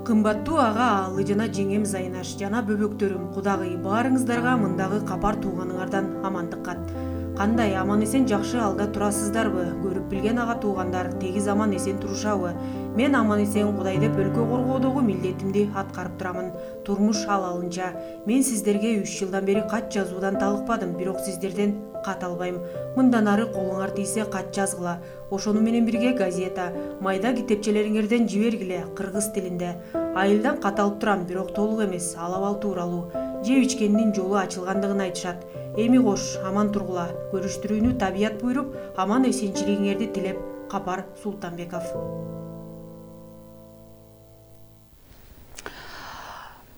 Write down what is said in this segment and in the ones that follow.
Кымбаттуу ага аалы жана жеңем Зайнаш жана бөбөктөрүм, кудагый баарыңыздарга мындагы кабар тууганыңардан амандык кат. Кандай аман эсен жакшы алда турасыздарбы? Көрүп билген ага туугандар тегиз аман эсен турушабы? Мен аман эсен Кудай деп өлкө коргоодогу милдетимди аткарып турамын. Турмуш алалынча. Мен сиздерге 3 жылдан бери кат жазуудан талыкпадым, бирок сиздерден кат албайм. Мындан ары колуңар тийсе кат жазгыла. Ошону менен бирге газета, майда китепчелериңерден жибергиле кыргыз тилинде. Айылдан кат алып турам, бирок толук эмес, алабал тууралуу. Жеп ичкендин жолу ачылгандыгын айтышат. Эми кош, аман тургула. Көрүштүрүүнү табият буйруп, аман эсенчилигиңерди тилеп, Капар Султанбеков.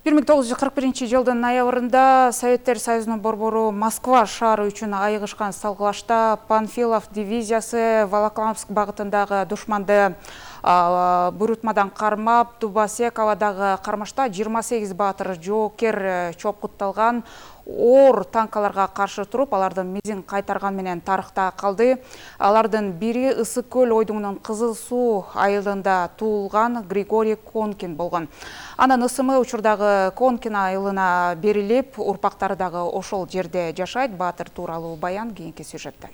1941 жылдын ноябрында Советтер Союзунун борбору Москва шаары үчүн айыгышкан салгылашта Панфилов дивизиясы Волоколамск багытындагы душманды буйрутмадан кармап, Дубосековдагы кармашта 28 баатыр жоокер чопкутталган. Оор танкаларга каршы туруп, алардын мизин кайтарган менен тарыхта калды. Алардын бири Ысык көл ойдуңунун Кызыл Суу айылында туулган Григорий Конкин болгон. Анын ысымы учурдагы Конкин айылына берилип, урпактары дагы ошол жерде жашайт. Баатыр тууралуу баян кийинки сюжетте.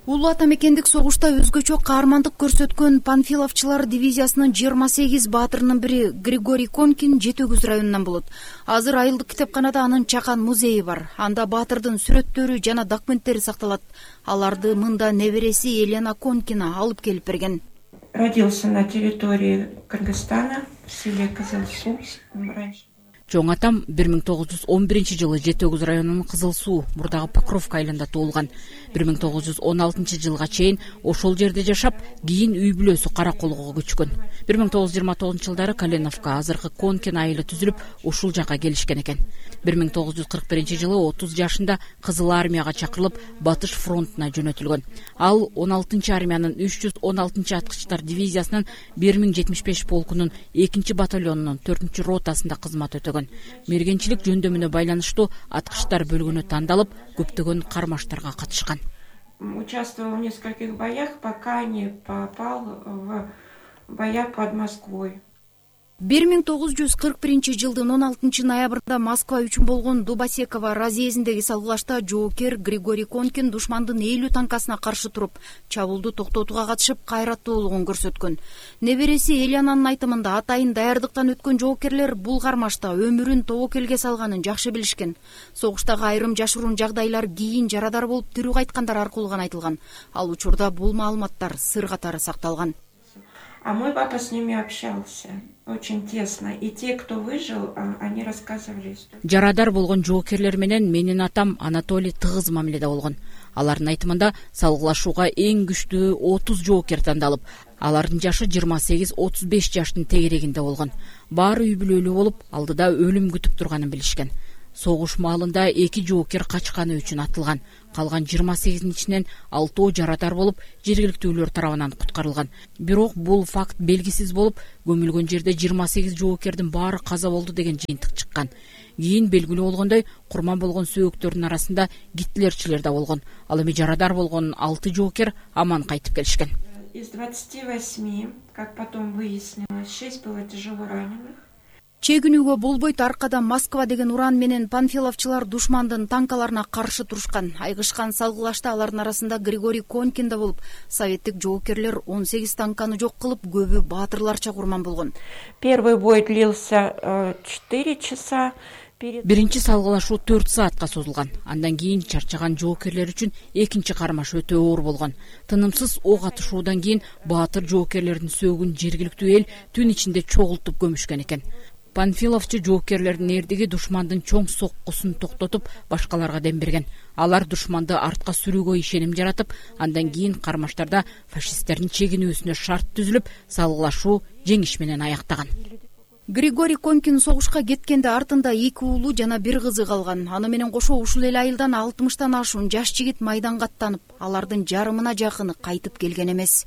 Улуу ата мекендик согушта өзгөчө каармандык көрсөткөн Панфиловчулар дивизиясынын 28 баатырынын бири Григорий Конкин Жетөгүз районунан болот. Азыр айылдык китепканада анын чакан музейи бар. Анда баатырдын сүрөттөрү жана документтери сакталат. Аларды мында небереси Елена Конкина алып келип берген. Родился на территории Кыргызстана, в селе Кызыл Суу. Чоң атам 1911 жылы Жетөгүз районунун Кызыл Суу, мурдагы Покровка айылында туулган. 1916 жылга чейин ошол жерде жашап, кийин үй бүлөсү Караколго көчкөн. 1929 жылдары Калиновка, азыркы Конкин айылы түзүлүп, ушул жака келишкен экен. 1941 жылы 30 жашында Кызыл армияга чакырылып, Батыш фронтуна жөнөтүлгөн. Ал 16 армиянын 316 аткычтар дивизиясынын 1075 полкунун 2 батальонунун 4 ротасында кызмат өтөгөн. Мергенчилик жөндөмүнө байланыштуу аткычтар бөлгөнү тандалып, көптөгөн кармаштарга катышкан. Участвовал в нескольких боях, пока не попал в боя под Москвой. 1941 жылдын 16 ноябрында Москва үчүн болгон Дубосекова разъездиндеги салгылашта жоокер Григорий Конкин душмандын 50 танкасына каршы туруп, чабуулду токтотууга катышып, кайраттуулугун көрсөткөн. Небереси Элянанын айтымында атайын даярдыктан өткөн жоокерлер бул кармашта өмүрүн тобокелге салганын жакшы билишкен. Согуштагы айрым жашыруун жагдайлар кийин жарадар болуп тирүү кайткандар аркылуу гана айтылган. Ал учурда бул маалыматтар сыр катары сакталган. А мой папа с ними общался очень тесно, и те, кто выжил, они рассказывали историю. Жарадар болгон жоокерлер менен менин атам Анатолий тыгыз мамиледе болгон. Алардын айтымында салгылашууга эң күчтүү 30 жоокер тандалып, алардын жашы 28-35 жаштын тегерегинде болгон. Баары үй бүлөлүү болуп, алдыда өлүм күтүп турганын билишкен. Согуш маалында 2 жоокер качканы үчүн атылган. Калган 28-ин ичинен 6 жарадар болуп, жергиликтүүлөр тарабынан куткарылган. Бирок бул факт белгисиз болуп, көмүлгөн жерде 28 жоокердин баары каза болду деген жыйынтык чыккан. Кийин белгилүү болгондой, курман болгон сөөктөрдүн арасында гитлерчилер да болгон. Ал эми жарадар болгон 6 жоокер аман кайтып келишкен. Из 28, как потом выяснилось, 6 было тяжело раненых. Чегинүүгө болбойт, аркада Москва деген уран менен Панфиловчулар душмандын танкаларына каршы турушкан. Айгышкан салгылашта алардын арасында Григорий Конкин да болуп, советтик жоокерлер 18 танканы жок кылып, көбү баатырларча курман болгон. Первый бой длился 4 часа. Биринчи салгылашуу 4 саатка созулган. Андан кийин чарчаган жоокерлер үчүн экинчи кармаш өтө оор болгон. Тынымсыз ок атышуудан кийин баатыр жоокерлердин сөөгүн жергиликтүү эл түн ичинде чогултуп көмүшкөн экен. Панфиловчу жоокерлердин эрдиги душмандын чоң соккусун токтотуп, башкаларга дем берген. Алар душманды артка сүрүүгө ишеним жаратып, андан кийин кармаштарда фашисттердин чегинүүсүнө шарт түзүлүп, салгылашуу жеңиш менен аяктаган. Григорий Конкин согушка кеткенде артында 2 уулу жана 1 кызы калган. Аны менен кошо ушул эл айылдан 60тан ашуун жаш жигит майданга аттанып, алардын жарымына жакыны кайтып келген эмес.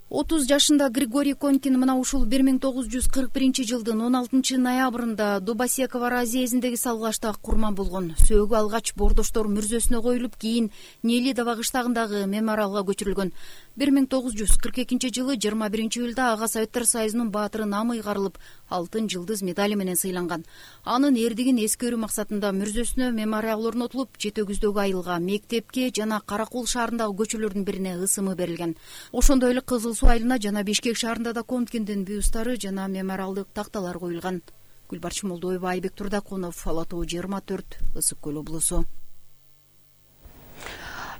30 жашында Григорий Конкин мына ушул 1941 жылдын 16 ноябрында Дубосекова разъездиндеги салгылашта курман болгон. Сөөгү алгач Бордоштор мүрзөсүнө коюлуп, кийин Нелидово кыштагындагы мемориалга көчүрүлгөн. 1942 жылы 21 июлда Ага Советтер Союзунун баатыры Намый карылып, алтын жылдыз медали менен сыйланган. Анын эрдигин эскерүү максатында мүрзөсүнө мемориал орнотулуп, Жетөгүздөгү айылга, мектепке жана Каракол шаарындагы көчөлөрдүн бирине ысымы берилген. Ошондой эле Кызыл Суу айылына жана Бишкек шаарында да Конкиндин бюстары жана мемориалдык такталар коюлган. Гүлбарчын Молдоева, Айбек Турдакунов, Ала Тоо 24, Ысык Көл облусу.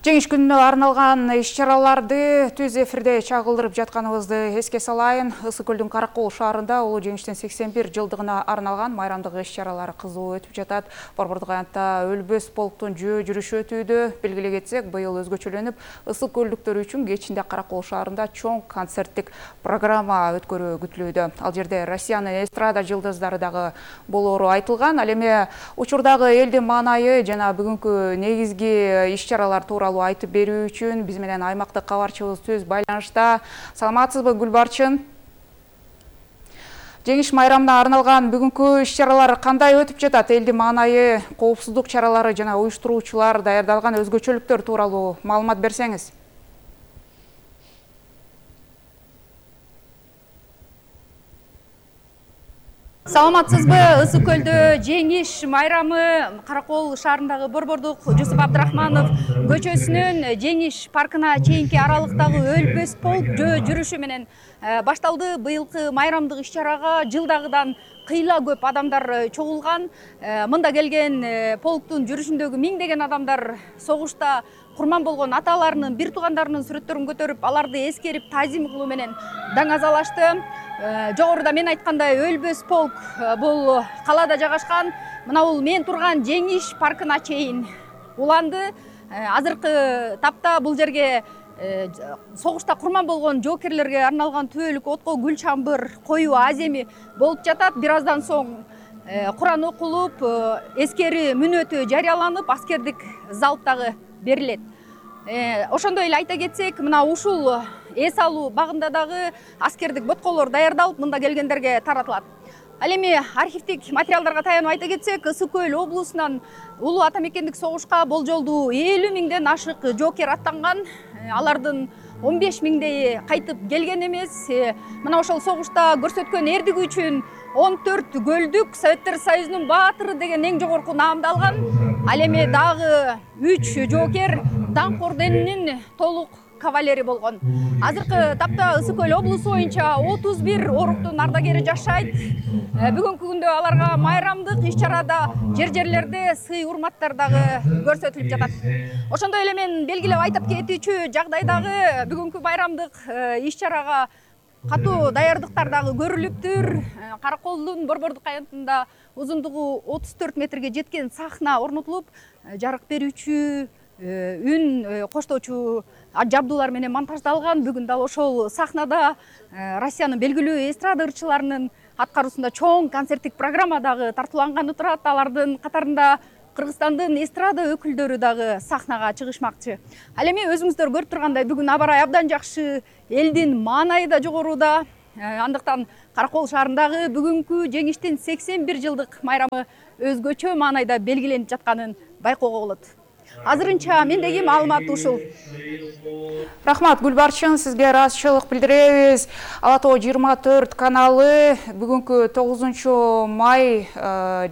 Жеңиш күнүнө арналган иш-чараларды түз эфирде чагылдырып жатканыбызды эске салайын. Ысык Көлдүн Каракол шаарында улуу жеңиштин 81 жылдыгына арналган майрамдык иш-чаралар кызуу өтүп жатат. Борбордук аянтта өлбөс полктун жөө жүрүшү өтүүдө. Белгилей кетсек, быйыл өзгөчөлөнүп, ысык көлдүктөр үчүн кечинде Каракол шаарында чоң концерттик программа өткөрүү күтүлүүдө. Ал жерде Россиянын эстрада жылдыздары дагы болоору айтылган. Ал эми учурдагы элдин маанайы жана бүгүнкү негизги иш-чаралар тууралуу айтып берүү үчүн биз менен аймактык кабарчыбыз түз байланышта. Саламатсызбы, Гүлбарчын? Жеңиш майрамына арналган бүгүнкү иш-чаралар кандай өтүп жатат? Элдин маанайы, коопсуздук чаралары жана уюштуруучулар даярдалган өзгөчөлүктөр тууралуу маалымат берсеңиз. Саламатсызбы, Ысык Көлдө жеңиш майрамы Каракол шаарындагы Борбордук Жусуп Абдрахманов көчөсүнүн Жеңиш паркына чейинки аралыктагы өлбөс полк жөө жүрүшү менен башталды. Быйылкы майрамдык иш-чарага жылдагыдан кыйла көп адамдар чогулган. Мында келген полктун жүрүшүндөгү миңдеген адамдар согушта курман болгон аталарынын, бир туугандарынын сүрөттөрүн көтөрүп, аларды эскерип, тазим кылуу менен даңазалашты. Жогоруда мен айткандай өлбөс полк бул калаада жайгашкан. Мына бул мен турган Жеңиш паркына чейин уланды. Азыркы тапта бул жерге согушта курман болгон жоокерлерге арналган түбөлүк отко гүл чамбыр коюу аземи болуп жатат. Бир аздан соң Куран окулуп, эскери мүнөтү жарыяланып, аскердик залп дагы берилет. Ошондой эле айта кетсек, мына ушул эс алуу багында дагы аскердик ботколор даярдалып, мында келгендерге таратылат. Ал эми архивдик материалдарга таянып айта кетсек, Ысык Көл облусунан улуу ата мекендик согушка болжолдуу 50 миңден ашык жоокер аттанган. Алардын 15 миңдейи кайтып келген эмес. Мына ошол согушта көрсөткөн эрдиги үчүн 14 көлдүк Советтер Союзунун баатыры деген эң жогорку наамды алган. Ал эми дагы 3 жоокер даңк орденинин толук кавалери болгон. Азыркы тапта Ысык Көл облусу боюнча 31 оруктун ардагери жашайт. Бүгүнкү күндө аларга майрамдык иш-чарада жер-жерлерде сый урматтар дагы көрсөтүлүп жатат. Ошондой эле мен белгилеп айтып кетүүчү жагдайдагы бүгүнкү майрамдык иш-чарага катуу даярдыктар дагы көрүлүптүр. Караколдун Борбордук аянтында узундугу 34 метрге жеткен сахна орнотулуп, жарык берүүчү, үн коштоочу жабдуулар менен монтаждалган. Бүгүн дал ошол сахнада Россиянын белгилүү эстрада ырчыларынын аткаруусунда чоң концерттик программа дагы тартууланганы турат. Алардын катарында Кыргызстандын эстрада өкүлдөрү дагы сахнага чыгышмакчы. Ал эми өзүңүздөр көрүп тургандай, бүгүн аба-ырай абдан жакшы, элдин маанайы да жогоруда. Андыктан Каракол шаарындагы бүгүнкү жеңиштин 81 жылдык майрамы өзгөчө маанайда белгиленип жатканын байкоого болот. Азырынча мендеги маалымат ушул. Рахмат, Гүлбарчын, сизге ыраазычылык билдиребиз. Ала Тоо 24 каналы бүгүнкү 9 май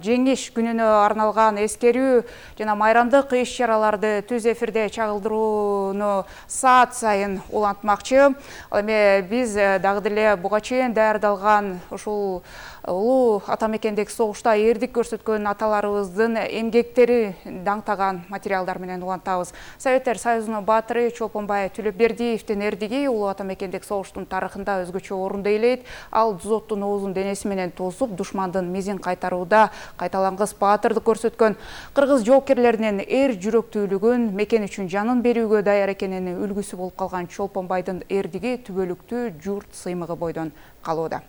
жеңиш күнүнө арналган эскерүү жана майрамдык иш-чараларды түз эфирде чагылдырууну саат сайын улантмакчы. Ал эми биз дагы деле буга чейин даярдалган ушул улуу ата мекендик согушта эрдик көрсөткөн аталарыбыздын эмгектери даңтаган материалдар менен улантабыз. Советтер Союзунун баатыры Чолпонбай Төлөбердиевдин эрдиги улуу ата мекендик согуштун тарыхында өзгөчө орунду ээлейт. Ал Дзоттун оозун денеси менен тосуп, душмандын мизин кайтарууда кайталангыс баатырдык көрсөткөн. Кыргыз жоокерлеринин эр жүрөктүүлүгүн, мекен үчүн жанын берүүгө даяр экенин үлгүсү болуп калган Чолпонбайдын эрдиги түбөлүктүү журт сыймыгы бойдон калууда.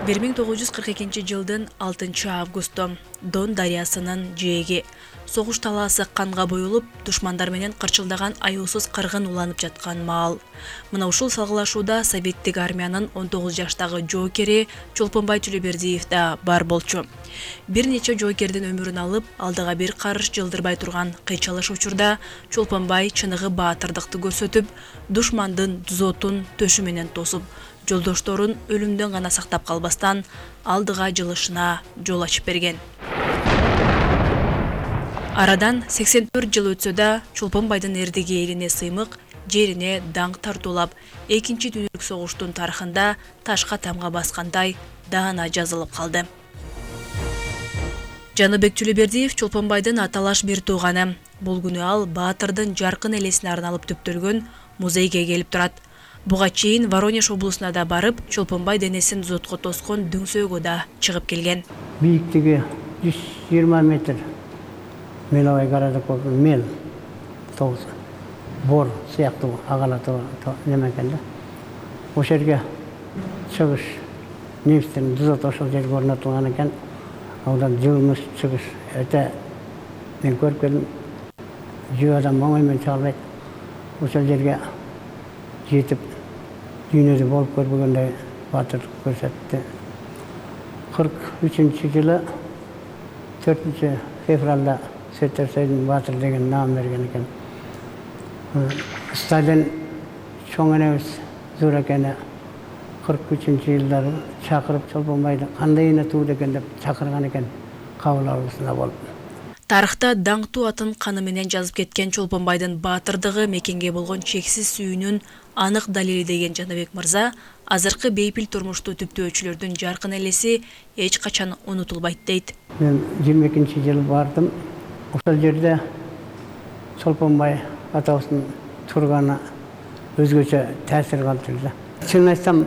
жылдын 6 августу Дон дарыясынын жээги согуш талаасы канга боюлуп, душмандар менен кырчылдаган аюусуз кыргын уланып жаткан маал. Мына ушул салгылашууда Советтик армиянын 19 жаштагы жоокери Чолпонбай Төлөбердиев да бар болчу. Бир нече жоокердин өмүрүн алып, алдыга бир карыш жылдырбай турган кыйчалыш учурда Чолпонбай чыныгы баатырдыкты көрсөтүп, душмандын дзотун төшү менен тосуп, жолдошторун өлүмдөн гана сактап калбастан алдыга жылышына жол ачып берген. Арадан 84 жыл өтсө да Чолпонбайдын эрдиги элине сыймык, жерине даңк тартуулап, экинчи дүйнөлүк согуштун тарыхында ташка тамга баскандай даана жазылып калды. Жаныбек Төлөбердиев Чолпонбайдын аталаш бир тууганы. Бул күнү ал баатырдын жаркын элесине арналып төптөлгөн музейге келип турат. Буга чейин Воронеж облусуна да барып, Чолпонбай денесин дзотко тоскон дөңсөөгө да чыгып келген. Бийиктиги 120 метр. Меловой городок болду, мел тогуз бор сыяктуу агалатуу неме экен да. Ошол жерге чыгыш немистердин дзоты ошол жерге орнотулган экен. Аудан жылмыш чыгыш. Өтө мен көрүп келдим. Жөө адам оңой менен чыга албайт. Ошол жерге жетип дүйнөдө болуп көрбөгөндөй баатырлык көрсөттү. 43-жылы 4 февралда Сөтөрсөйдүн баатыр деген наам берген экен. Сталин чоң энебиз Зуракени 43-жылдары чакырып Чолпонбайды кандай эне тууду экен деп чакырган экен кабыл алуусунда болуп. Тарыхта даңктуу атын каны менен жазып кеткен Чолпонбайдын баатырдыгы, мекенге болгон чексиз сүйүүнүн анык далили деген Жаныбек мырза, азыркы бейпил турмушту түптөөчүлөрдүн жаркын элеси эч качан унутулбайт дейт. Мен 22-жылы бардым. Ошол жерде Чолпонбай атабыздын турганы өзгөчө таасир калтырды. Чын айтсам,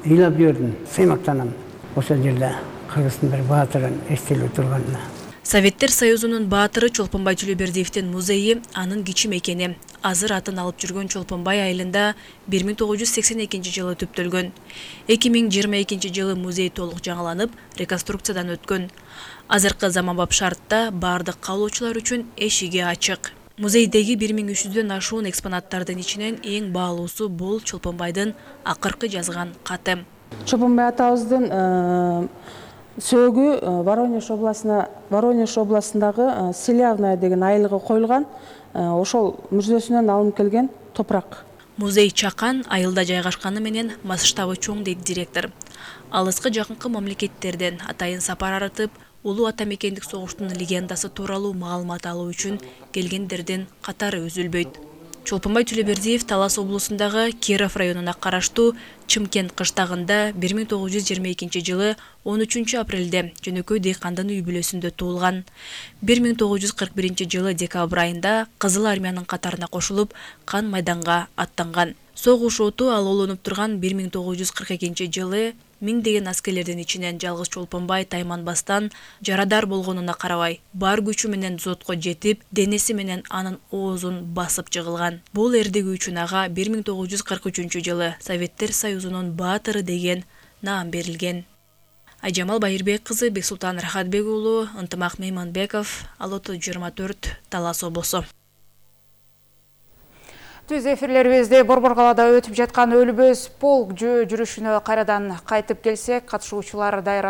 ыйлап жүрдүм, сыймактанам. Ошол жерде кыргыздын бир баатырын эстелүү турганына. Советтер Союзунун баатыры Чолпонбай Төлөбердиевдин музейи анын кичи мекени. Азыр атын алып жүргөн Чолпонбай айылында 1982 жылы түптөлгөн. 2022 жылы музей толук жаңыланып, реконструкциядан өткөн. Азыркы заманбап шартта бардык каалоочулар үчүн эшиги ачык. Музейдеги 1300дөн ашуун экспонаттардын ичинен эң баалуусу бул Чолпонбайдын акыркы жазган каты. Чолпонбай атабыздын сөөгү Воронеж областындагы Селявная деген айылга коюлган. Ошол мүрзөсүнөн алынып келген топурак. Музей чакан айылда жайгашканы менен масштабы чоң дейт директор. Алыскы жакынкы мамлекеттерден атайын сапар арытып, улуу ата мекендик согуштун легендасы тууралуу маалымат алуу үчүн келгендердин катары үзүлбөйт. Чолпонбай Төлөбердиев Талас облусундагы Киров районуна караштуу Чымкент кыштагында 1922 жылы 13 апрелде жөнөкөй дыйкандын үй бүлөсүндө туулган. 1941 жылы декабрь айында Кызыл армиянын катарына кошулуп, кан майданга аттанган. Согуш оту алоолонуп турган 1942 жылы миңдеген аскерлердин ичинен жалгыз Чолпонбай тайманбастан жарадар болгонуна карабай, бар күчү менен дзотко жетип, денеси менен анын оозун басып жыгылган. Бул эрдиги үчүн ага 1943 жылы Советтер Союзунун баатыры деген наам берилген. Айжамал Байырбек кызы, Бексултан Рахатбек уулу, Ынтымак Мейманбеков, Алото 24, Талас облусу. Түз эфирлерибизде Борбор калаада өтүп жаткан өлбөс полк жүрүшүнө кайрадан кайтып келсек, катышуучулар дайыр